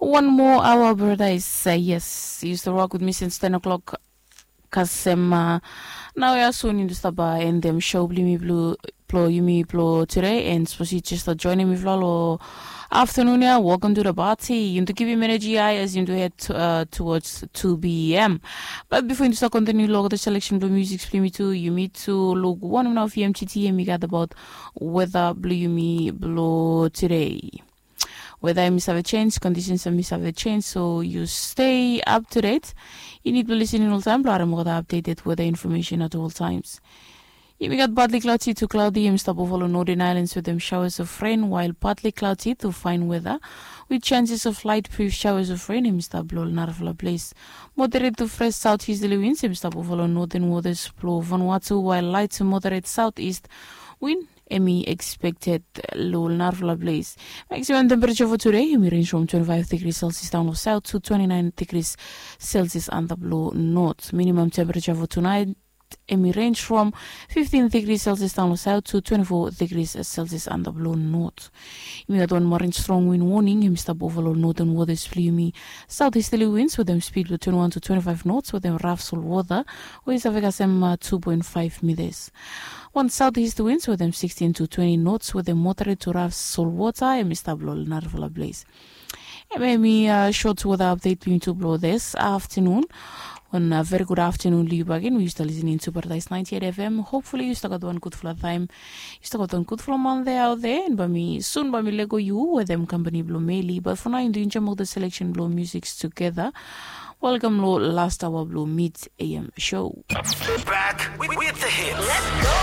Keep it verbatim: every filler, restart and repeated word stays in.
Wan moa aoa, paradais. Yes, yu stap wok wit mi since ten o'clock. Kasem naoia sun yu stap endem show blong yumi blong yumi blong tude, and sapos yu jes stap joinim mifala long aftanun ya, welcome to the party. Yumi tu givim energy high as yumi tu head towards two p.m. Bat bifo yumi tu stap kontiniu long olgeta selection blong music blong yumi tu, yumi tu luk wanem nao vmgt em i gat abaot weta blong yumi blong tude. Weta em i save sens, kondisens em i save sens, so yu stay up to date. Yu nid blong lisening oltaem blong harim olgeta updated weta infomesen at ol taems. Yumi gat partly cloudy to cloudy, em i stap ova long northern islands wetem showers of rain, while partly cloudy to fine weather with chances of light brief showers of rain, em i stap blong ol narafala ples. Moderate to fresh southeasterly winds, em i stap ova long northern waters blong Vanuatu, while light to moderate southeast wind em i expected long ol narafala ples. Maximum temperature for today em i range from twenty-five degrees Celsius down long south to twenty-nine degrees Celsius antap long north. Minimum temperature for tonight em i range from fifteen degrees Celsius down long south to twenty-four degrees Celsius antap long north. Yumi gat wan marin strong wind warning, em i stap ova long northern waters blong yumi. Southeasterly winds wetem speed blong twenty-one to twenty-five knots wetem rough solwota we i save kasem two point five meters. Wan southeast winds wetem sixteen to twenty knots wetem moderate to rough solwota em i stap long narafala ples. Em em i short weather update blong yumi tu blong this afternoon. Wan very good afternoon long yu bagen we yu stap lisening to Paradise ninety-eight F M. Hopefully yu stap gat wan gudfala taem. Yu stap gat wan gudfala manthe aot there, and bae mi sun bae mi lego yu wetem kampani blong Meli. Bat for nao yumi tu enjoem olgeta selection blong music tugeta. Welkam long last aoa blong Mid A M show. Back with the hits.